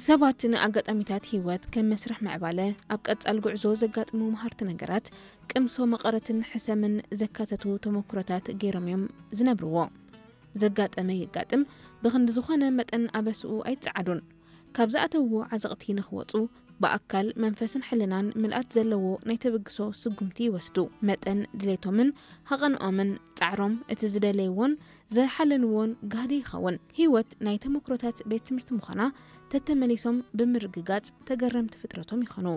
ሰባት ንኣጋጣሚታት ህይወት ከም መስርሕ ምዕባለ፣ ኣብ ቀጻል ጉዕዞ ዘጋጥሙ መሃርቲ ነገራት፣ ቅምሶ መቐረትን ሕሰምን ዘካተቱ ተመክሮታት ገይሮም እዮም ዝነብርዎ። ዘጋጠመ የጋጥም፣ ብኽንዲ ዝኾነ መጠን ኣበስኡ ኣይጸዓዱን። ካብ ዝኣተውዎ ዓዘቕቲ ንኽወጹ፣ ብኣካል፣ መንፈስን ሕልናን ምልኣት ዘለዎ ናይ ተበግሶ ስጉምቲ ይወስዱ። መጠን ድሌቶምን ሃቐንኦምን ጻዕሮም፣ እቲ ዝደለይዎን ዝሓለንዎን ጋህዲ ይኸውን። ህይወት ናይ ተመክሮታት ቤት ትምህርቲ ምዃና ተተመሊሶም ብምርግጋጽ ተገረምቲ ፍጥረቶም ይኾኑ።